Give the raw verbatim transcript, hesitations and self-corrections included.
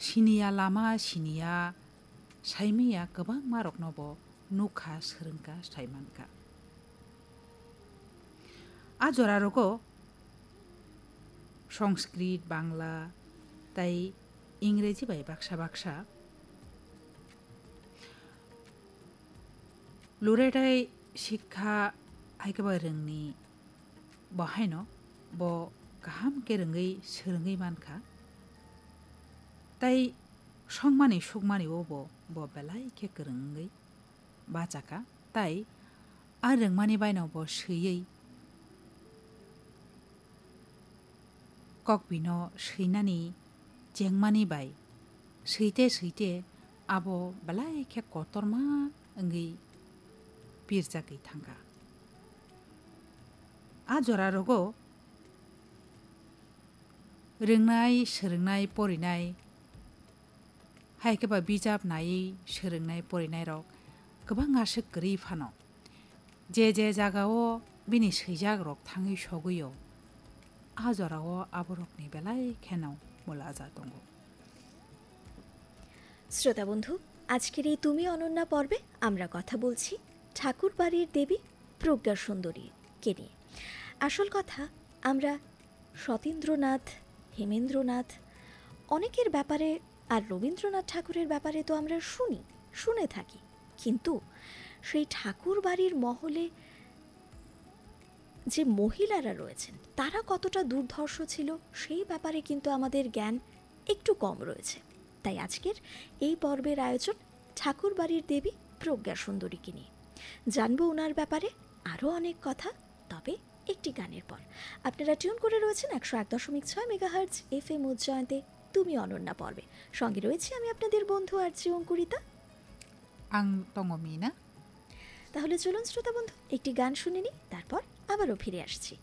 Siniya lama, siniya saimiya kwbangma rokno bo nukha, swrwngkha, saimankha. A jora rogo Sanskrit, Bangla tei Ingreji bai baksa baksa luretai sikha hai khe ba rwngni bo haino bo kaham khe rwngwi swrwngwi mankha. Tei songmani sukmani o bo, bo belai khe kwrwngwi bachakha. Tei a rwngmani baino bo swiwi kokbino swinani chengmani bai swite swite abo belai khe kotorma wngwi pirjagwi thangkha. A jora rogo rwngnai, swrwngnai, porinai, hai khe ba bijap naiwi swrwngnai, porinairok kwbang aswk kwrwi phano. Je je jagao bini swijak rok thangwi sogwi-o, a jorao aborokni belai kheno mulaja tongo. শ্রোতা বন্ধু, আজকের এই তুমি অনন্যা পর্বে আমরা কথা বলছি ঠাকুরবাড়ির দেবী প্রজ্ঞা সুন্দরীকে নিয়ে। আসল কথা, আমরা সতীন্দ্রনাথ, হেমেন্দ্রনাথ, অনেকের ব্যাপারে আর রবীন্দ্রনাথ ঠাকুরের ব্যাপারে তো আমরা শুনি, শুনে থাকি, কিন্তু সেই ঠাকুরবাড়ির মহলে যে মহিলারা রয়েছেন, তারা কতটা দুর্ধর্ষ ছিল, সেই ব্যাপারে কিন্তু আমাদের জ্ঞান একটু কম রয়েছে। তাই আজকের এই পর্বের আয়োজন ঠাকুরবাড়ির দেবী প্রজ্ঞা সুন্দরীকে নিয়ে। জানবো ওনার ব্যাপারে আরও অনেক কথা, তবে একটি গানের পর। আপনারা টিউন করে রয়েছেন একশো এক দশমিক ছয় মেগাহার্জ এফএম উজ্জয়ন্তে তুমি অনন্যা পর্বে। সঙ্গে রয়েছি আমি আপনাদের বন্ধু আরজে অঙ্কুরিতা। Ang tongo Mina. তাহলে চলুন শ্রোতা বন্ধু, একটি গান শুনে নিই, তারপর আবারও ফিরে আসছি।